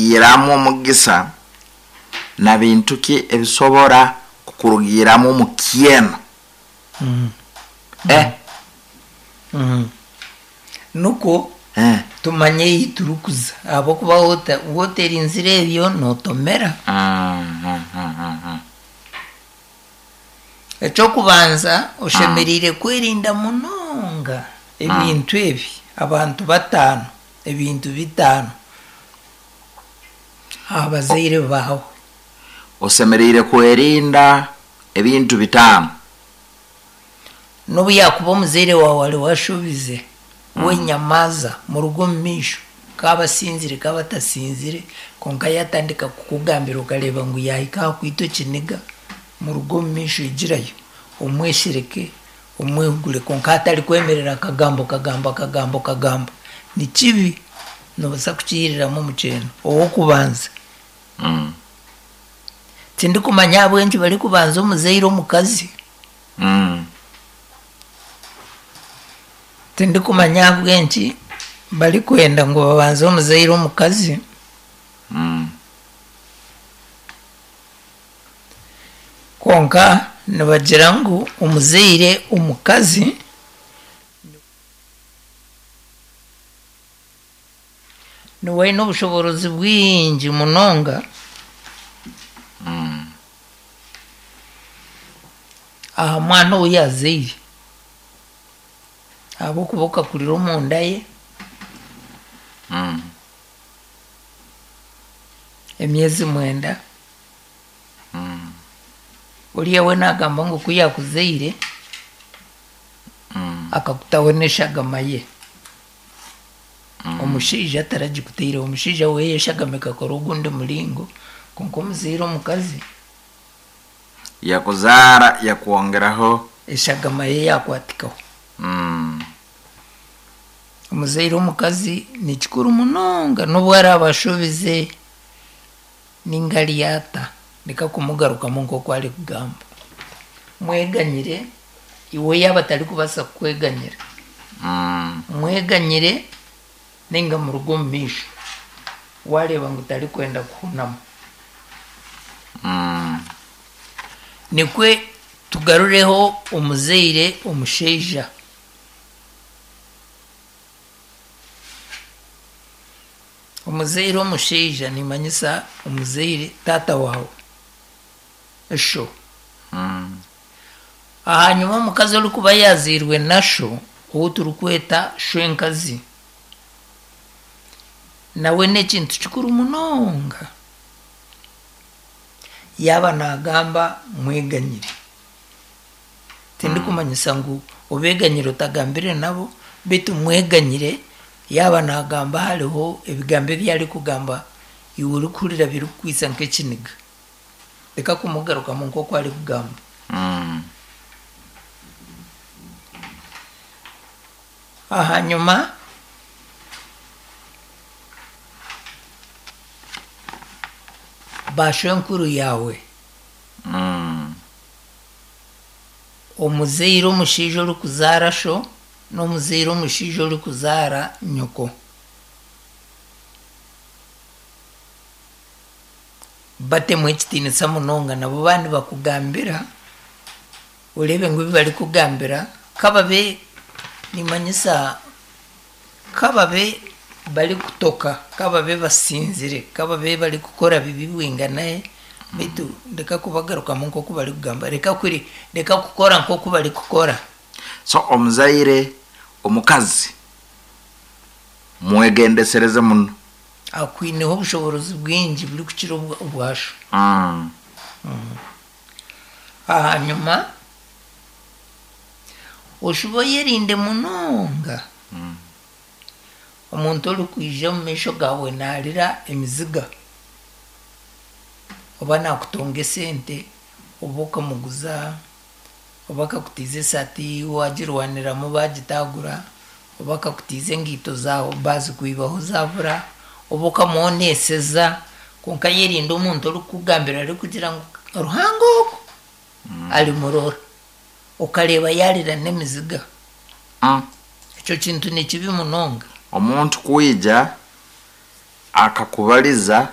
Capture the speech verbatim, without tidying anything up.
Kurugiiramu omugisa na bintu ki ebisobora kukurugiiramu omukyeno? Eh, Nukwo eh. tumanye ei turikuza ahabw'okuba wota- woterinzire ebyo nootomera. Mm, mm, mm, mm, mm. Ekyokubanza, oshemereire kwerinda munonga ebintu ebi, abantu bataano, ebintu bitaano aha bazaire baawe. Osemeriire kwerinda ebintu bitaano. N'obu yaakuba omuzaire waawe ari washobize, we nyamaaza muruge omu maisho, kaaba asinzire kaaba atasinzire, kwonka yaatandika kukugambira okareeba ngu yaahika aha kwita ekiniga, muruge omu maisho igirayo, omweshereke, omwehugure, kwonka atarikwemerera akagamba okagamba okagamba okagamba. Ni kibi, noobaasa kukihiriramu omukyeno. Ow'okubanza, Mm. tindikumanya ahabw'enki barikubanza omuzaire omukazi. Mm. Tindikumanya ahabw'enki barikwenda ngu babanze omuzaire omukazi. Mm. Kwonka nibagira ngu omuzaire omukazi niwe aine obushoboorozi bwingi munonga Mm. aha mwana ou yaazaire, ahabw'okuba okakurira omunda ye Mm. emyezi mwenda. Mm. Oriya we naagamba ngu ku yaakuzaire Mm. akakutaho n'eshagama ye. Mm. Omushaija taragikutaireho, omushaija we eshagama ekakora ogundi muringo, kwonka omuzaire omukazi Yakuzaara yakwongeraho. Eshagama ye yakwatikaho. Mm. Omuzaire omukazi ni kikuru munonga, n'obu araaba ashobize ninga ari ata, reka kumugarukamu nk'oku arikugamba. Mweganyire, iwe yaaba atarikubaasa kukweganyira, Mm. mweganyire ninga muruge omu maisho waareeba ngu tarikwenda kuhunama. Mm. Nikwe tugarureho omuzaire omushaija. Omuzaire omushaija nimanyisa omuzaire taata waawe, esho. Mm. Ahanyuma omukazi orikuba yaazairwe na sho, ou turikweta shwenkazi, nawe n'ekintu kikuru munonga. Yaaba naagamba mweganyire. Tindikumanyisa ngu obeeganyire otagambire nabo, beitu mweganyire yaaba naagamba hariho ebigambo ebi arikugamba iwe orikuhurira birikukwitsa nk'ekiniga. Reka kumugarukamu nk'oku arikugamba. Mm. Ahanyuma bashwenkuru yaawe, Mm. omuzaire omushaija orikuzaara sho n'omuzaire omushaija orikuzaara nyoko. Batemu ekitiinisa munonga, nabo baaba nibakugambira oreebe ngu ebi barikugambira kababe nimanyisa kababe barikutoka, kababe basinzire, kababe barikukora bibi bwinganahe, beitu reka kubagarukamu nk'oku barikugamba, reka kuri reka kukora nk'oku barikukora. So omuzaire omukazi mwegendesereze muno. Akwineho obushoboorozi bwingi burikukira obwa- obwasho. Mm. Ahanyuma oshuba oyerinde munonga Mm. omuntu orikwija omu maisho gaawe naarira emiziga, oba naakutonga esente, oba okamuguza, oba akakutiiza esaati waagirwaniramu baagitaagura, oba akakutiiza engaito zaawe baazikwibaho zaabura, oba okamuoneeseza, kwonka yerinde omuntu orikukugambira arikugira ngu Ruhanga ogu arimurora, okareeba yaarira n'emiziga. Mm. Ekyo kintu ni kibi munonga. Omuntu kwija akakubaliza.